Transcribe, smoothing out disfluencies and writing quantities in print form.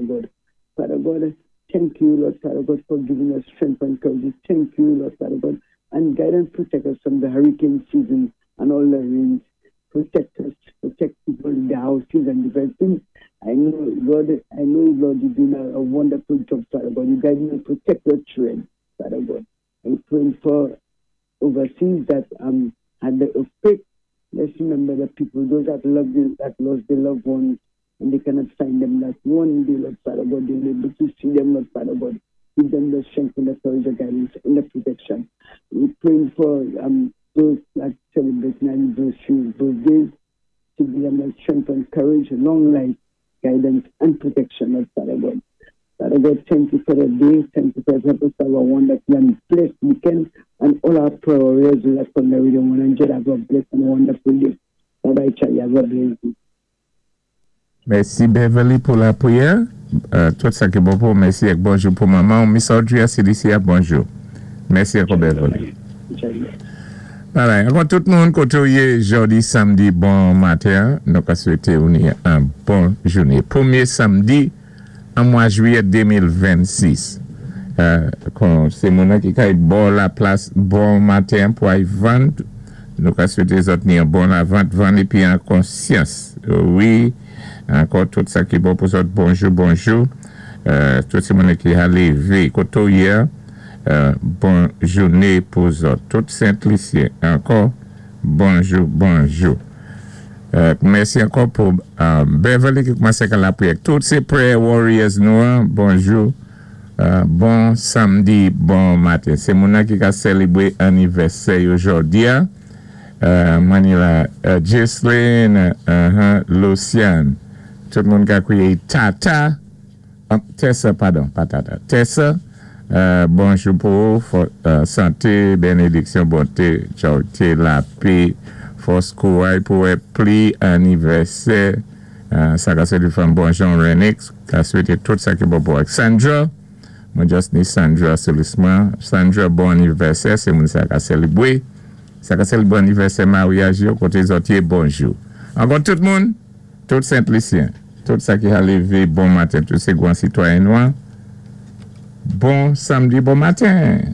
Father God. Father God, thank you, Lord Father God, for giving us strength and courage. Thank you, Lord Father God, and guide and protect us from the hurricane season and all the rains. Protect us, protect people in the houses and different things. I know, Lord, I know, Lord, you're doing a wonderful job, Father God. You guide and protect your children, Father God. I'm praying for overseas that had the earthquake. Let's remember the people, those that love them, that lost their loved ones, and they cannot find them. That one day, Lord Father God, they'll be able to see them, Lord Father God. Give them the strength and the courage, the guidance, and the protection. We're praying for those that celebrate anniversaries, birthdays, to give them the strength and courage, long life, guidance, and protection, Lord Father God. Father God, thank you for the day. Thank you for helping us have a wonderful and blessed weekend. And all our prayer warriors will have from the Radio 100 have a blessed and wonderful day. Bye bye, Charlie. Have a blessed day. Mèsi, Beverly, pou lapriyè. Tout sa ki bon pou, mèsi ak bonjou pou manman. Miss Audrey a CDC, bonjou. Mèsi ankò, Beverly. Bye bye. Ankò tout moun koté ou yé jòdi samdi bon maten, nou ka swété ou ni an bon jouné. Pwémyé samdi an mwa jwiyè 2026. Kon sé moun ki kay bò la plas bon maten pou ay vann, nou ka swété zòt ni an bon lavant, vann épi an konsyans. Wi, ankò tout sa ki bon pou zòt, bonjou, bonjou. Tout sé moun ki a lévé koté ou yé, bon jouné pou zòt. Tout Sent-Lisyen, ankò, bonjou, bonjou. Mèsi ankò pou Beverly ki koumansé ka lapriyè. Tout sé prayer warriors nou, an, bonjou. Bon samdi, bon maten. Sé moun ki ka sélébwé anivèsè jòdi a. Manila, Jesline, Lucian. Tout moun ka kwiyé Tata. Tessa, padon, pa Tata. Tessa, bonjou pou ou, santé, bénédiksyon, bonté, charité, lapè, fòs, kouray pou wè pli anivèsè. Sa ka swété fanm bon Jean Renix, ka swété tout sa ki bon pou Sandra. Mwen just ni Sandra Solisman. Sandra, bon anivèsè, sé moun sa ka sélébwé. Sa ka sélébwé anivèsè maryaj yo, koté zòt yé, bonjou. Ankò tout moun, tout Sent-Lisyen, tout sa ki a lévé bon maten, tout sé gwan sitwayen nwa. Bon samdi, bon maten.